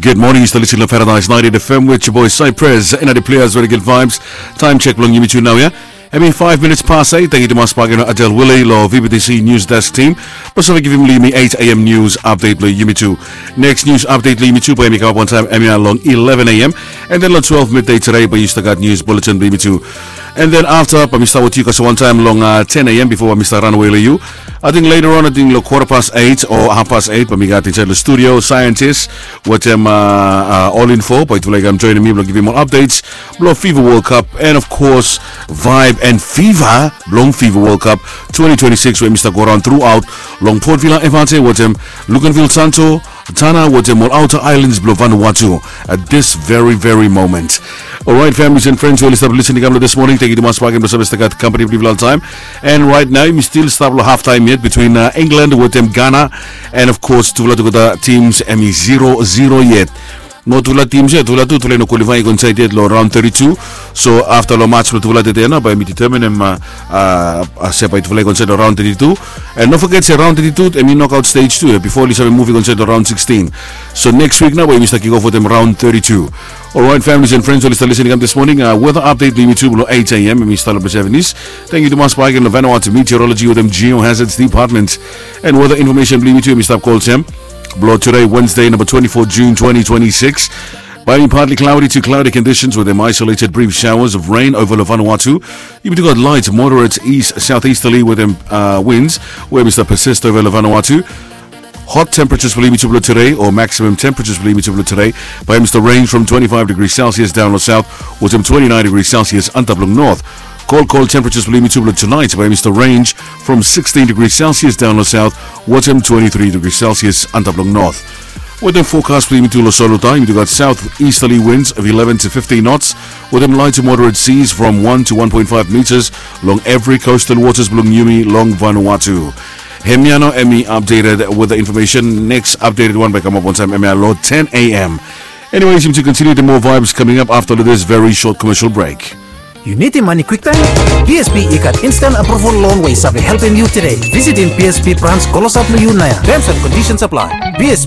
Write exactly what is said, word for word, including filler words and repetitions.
Good morning, yu stap lisin long Paradise ninety-eight F M with your boy Cypress and other players very good vibes. Time check bilong yumi tu nau ya. Hemi five minutes past eight. Thank you tumas bak yu know Adel Willie lo V B T C News Desk team. Basa givim yumi eight a.m. news update lo yumi tu. Next news update lo yumi tu bai mi kamap wantaim hemi long eleven a.m. And then lo twelve midday today bai yu stap gat news bulletin lo yumi tu. And then after bai mi stap with yu kasem wantaim long uh, ten a.m. before bai mi stap run away lo yu. I think later on, I think lo quarter past eight or half past eight, bai mi gat inside lo studio scientist wetem uh, uh, all info. Bai tufala i kam joinim mi bilong givim ol updates bilong FIFA World Cup and of course vibe and fever bilong FIFA World Cup twenty twenty-six where Mr. Goran throughout long Port Vila F R T wetem Luganville Santo Tana wetem ol outer islands bilong Vanuatu at this very very moment. Alright, families and friends, ol i stap lisin i kam lo this morning, thank you tumas bak em lo save stay gat company bilong yufala time. And right now, yumi still stap lo half time yet between uh, England wetem Ghana. And of course, tufala tugeta teams em i zero zero yet. No tufala teams yet, tufala tu tufala i no qualify i go inside yet lo round thirty-two. So after lo match lo tufala tete na bai mi determine em uh, uh, se bai tufala i go inside lo round thirty-two. And no forget se round thirty-two em i knockout stage tu ya before oli save move i go inside lo round sixteen. So next week na bai mi start kick off wetem round thirty-two. Alright, families and friends, ol i stap lisin i kam this morning. Uh, weather update lo yumi tu lo eight a.m. em i stap lo Sevenis. Thank you tumas bak yu lo Vanuatu Meteorology wetem Geohazards Department. And weather information bilong yumi tu em i stap kolsem. Blo today Wednesday number twenty-four June twenty twenty-six. Bai mi partly cloudy to cloudy conditions with them isolated brief showers of rain over Vanuatu. Yumi tu gat light moderate east southeasterly with them uh, winds where Mr. persist over Vanuatu. Hot temperatures bilong yumi tu blo today or maximum temperatures bilong yumi tu blo today bai Mr. range from twenty-five degrees Celsius down lo south wetem twenty-nine degrees Celsius antap long north. Cold, cold temperatures bilong yumi tu blo tonight bai Mr. range from sixteen degrees Celsius down lo south wetem twenty-three degrees Celsius antap long north. Wetem forecast bilong yumi tu lo Soluta, yumi tu gat southeasterly winds of eleven to fifteen knots wetem light to moderate seas from one to one point five meters long every coastal waters bilong yumi long Vanuatu. Hemia no em i updated weather information. Next updated one bai kamap wantaim hemia lo ten a.m. Anyways, yumi tu continue the more vibes coming up after this very short commercial break. Yu nidim mani kwiktaim? B S B i gat instant approval loan we i save helpim yu today. Visitim B S B branch klosap lo yu nau ya. Terms and conditions apply. B S B